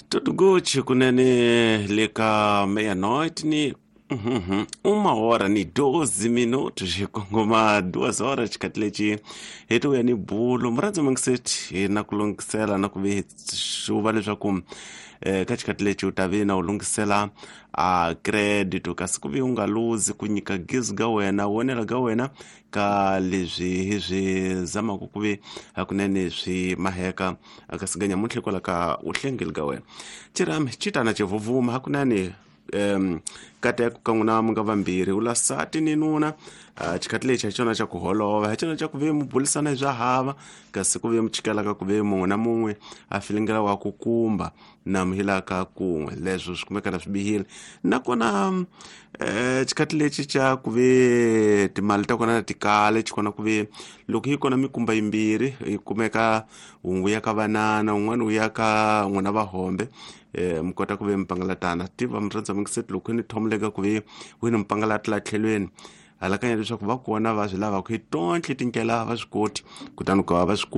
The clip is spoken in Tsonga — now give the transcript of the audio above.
Tudo kunene le ka meia-noite ni 1h12 hi kongoma 2 horas. Xikhathi lexi hi ti vuya ni bulo murhandzi mangiseti hi na ku lunghisela na ku ve xuva leswaku ka xikhathi lexi u ta ve na u lunghisela a credit, kasi ku ve u nga luzi ku nyika gezi ga wena, wonela ga wena ka leswi hi swi zamaka ku ve hakunene swi maheka. Kasi ga nyamuntlha hikwalaho ka uhlengeli ga wena xirhami xi tana xivhuvhuma hakunene, kateko ka n'wina mi nga vambirhi, u lasati ni nuna. Xikhathi lexi hi xona xa ku holova, hi xona xa ku ve mi bulisana hi swa hava, kasi ku ve mi chikelaka ku ve mun'we na mun'we a filingela wa ku kumba na mi hilaka kun'we. Leswo swi kumeka na swi bihile. Nakona xikhathi lexi xa ku ve timali ta kona ti kale xi kona ku ve loko yi kona mikumba yimbirhi yi kumeka, wun'we ya ka vanana, wun'wana wu ya ka n'wina vahombe, mi kota ku ve mi pangalatana tiva. Murhandza mingiseti, loko ni thomuleka ku ve wini mi pangalata la tlhelweni, halakanya leswaku va kona va swi lavaka hi tontlhe tindlela va swi koti, kutani ku va va swi.